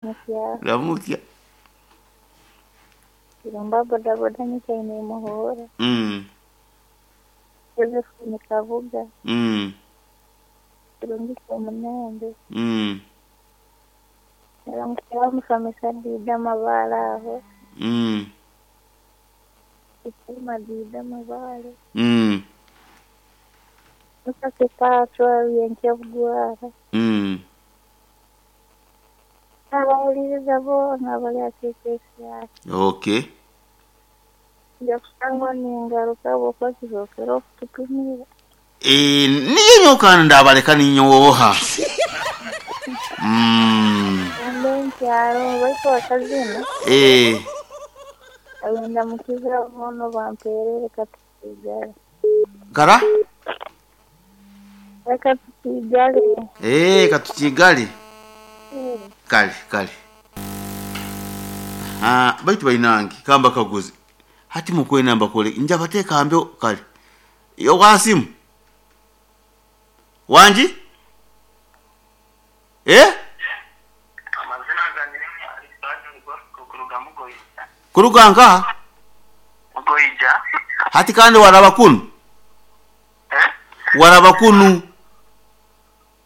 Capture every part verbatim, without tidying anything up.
Mukyala. Ramukya. Kirumba bodaboda nyikaine Muhura. Mm. Josephine Kabuga. Mm. Kirungi Kyomunembe. Mm. Ramukya musomesa Dida Mabaale aho. Mm. Isima Dida Mabaale. Mm. Musase Patwa Byenkya-Bugwara. Mm. Abawuliriza boona bali akeekesiya. Okay. Nja kusangwa ningaruka bw'okuba kizookera okututumira. Eh, niyo nyokana ndabaleka ninyowoha. Mm. Mbe nkyalo baitu akazina Eh, agenda mukiza bono bampeerere katukiigale. kara? Reka tukiigale. Eh, katukigali. Eh, Kale, kale. Ah, baitu bainange kamba kaguzi. Hati mukwena mbakole nja bateeka mbyo kale. Yo wasimu. Wanji? Eh? Amazina gange ni Alexander Bosco kuruga Mugoyija. Kuruga nka? Mugoyija? Hati kandi waraba kunu. Eh? Waraba kunu.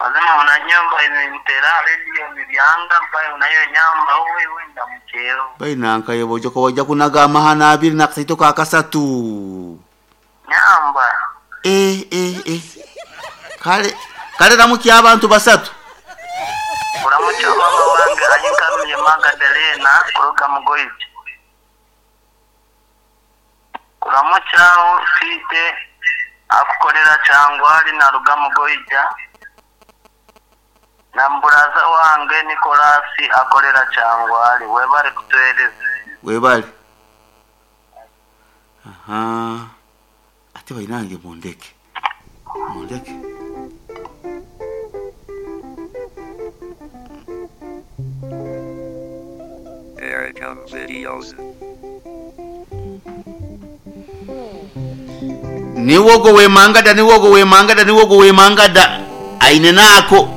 Mazima unanyumba inintera radio nibyanga mbaye unayo nyamba wewe wenda mukero. Bainanka yebo joko wajja kunaga amahana abiri nakasaito ka kasatu. Nyamba. Eh, eh, eh. Kale kale ramukya abantu basatu. Uramucha mama wange ayinkaruye Magdalena kuruga Mugoyija. Kuramucha ufite akukorera cyangwa ari naruga Mugoyija. Na mburaza wange Nikolasi akorera cyangwa webare kutuhereza. Webale. Aha. Ate bainange mundeke. Mundeke. Aircom videos. Niwogo wemangada niwogo wemangada niwogo wemangada aine nako